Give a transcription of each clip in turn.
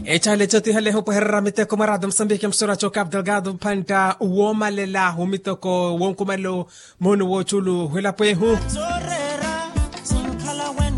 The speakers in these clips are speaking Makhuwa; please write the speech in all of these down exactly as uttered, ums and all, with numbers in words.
Echale chotiha leho pweherera miteko mwa radio musambiki musura cho capital gado mphanta womalela womiteko wonkumalelo. Mono woculu hwelapwehu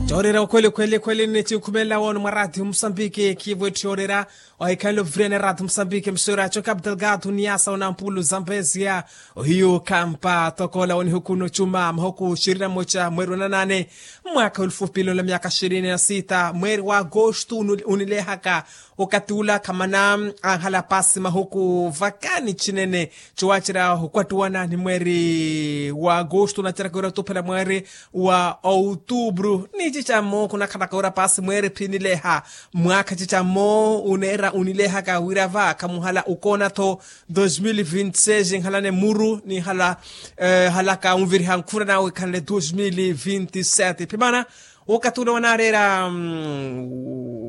chorera okhweli khweli khweli ni chinkhumelela wono mwa radio musambiki khivo ethi yorera. Ohikhalelo vuriyana radio musambiki musura cho capital gado niyasa onampulu zambesia ohiyu khampa tokola onihukuno chuma mahuku shirini na mocha mweri wa nanane. Mwaakha olufu pilo la myaka shirini na sita mweri wa agosto unilehaka. Okati ula khamana anhala pasi mahuku vakani chinene chowacera okwattuwana ni mweri wa agosto naceraka wira otuphela mweri wa outubru ni cicammo khunakhalaka wira pasi mweri phinileha. Mwaakha cicammo uneera unilehaka wira va khamuhala ukoona-tho dos mil vinti seis nhalane muru ni hala halaka unviriha nkhuna nawe khanle dos mil vinti sete phimana. Wokatuna wanareera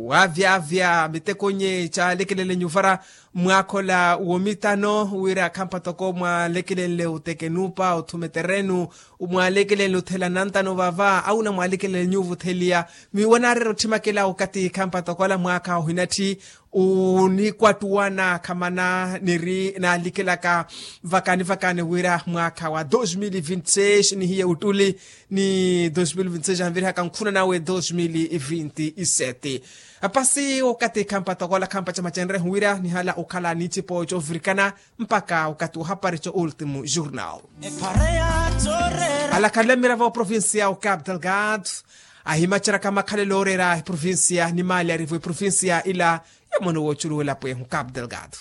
wavyavya mitekonye calekelele nyuvara mwakhola womitano wira khampa toko mwalekelenle utekenupa uthuma eterenu mwalekelenle uthela nantano vava auna mwalekelenle nyuvutheliya. Miwanareera othimakela okati khampa toko ala mwakha ohinatthi unikwattuwana khamana niri nalikelaka vakani vakani wira mwakha wa dos mil vinti seis nihiye uttuli ni dos mil vinti seis anvirihaka nkhuna nawe dos mil vinti sete. Apasi okati khampa tokola khampa chama chenrehu wira nihala okhala nicipo covirikana mpaka okati ohapari co ultimu jurnal. Alakhanle mira va oprovincia o cap delgado ahimaceraka makhalelo orera eprovincia ni mali arivo eprovincia ila ya mono woculuwela pwehu cap delgado.